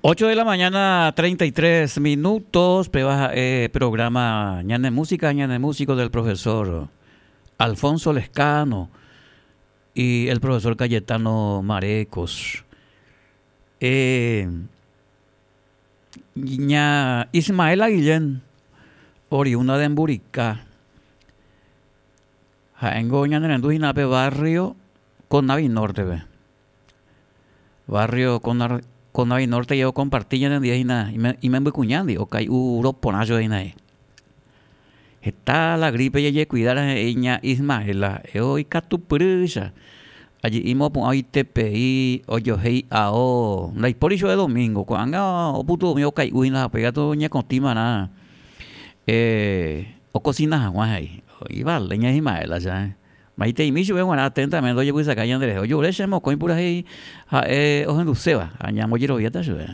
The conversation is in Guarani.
8 de la mañana, 33 minutos, péva ha'e programa Ñane Música, Ñane Músico del profesor Alfonso Lescano y el profesor Cayetano Marecos. Eh, ña Ismaela Guillén, oriunda de Mburika, ha'éngo ñanerendu hína pe barrio Conavi Norte-pe. Barrio Conavi Norte jeko okomparti ñanendie hína imembykuñándi, okai'u roporã chupe hína he'i. Heta la gripe jajekuida he'i ña Ismaela, eo ikatupyrýicha, aje'i mopu'ã oitepei, ojohéi ao, ndaipóri chupe domingo, ko'ág̃a oputu'umi okai'u hína ha upéi katu oñekotĩmarã okosina hag̃ua he'i. Ivale ña Ismaela che. Maiteimi chupe g̃uarã atentamente ojepysaka ñanderehe. Ojure che mokõi purahéi ha'e ohenduséva ha ñambojeroviáta chupe.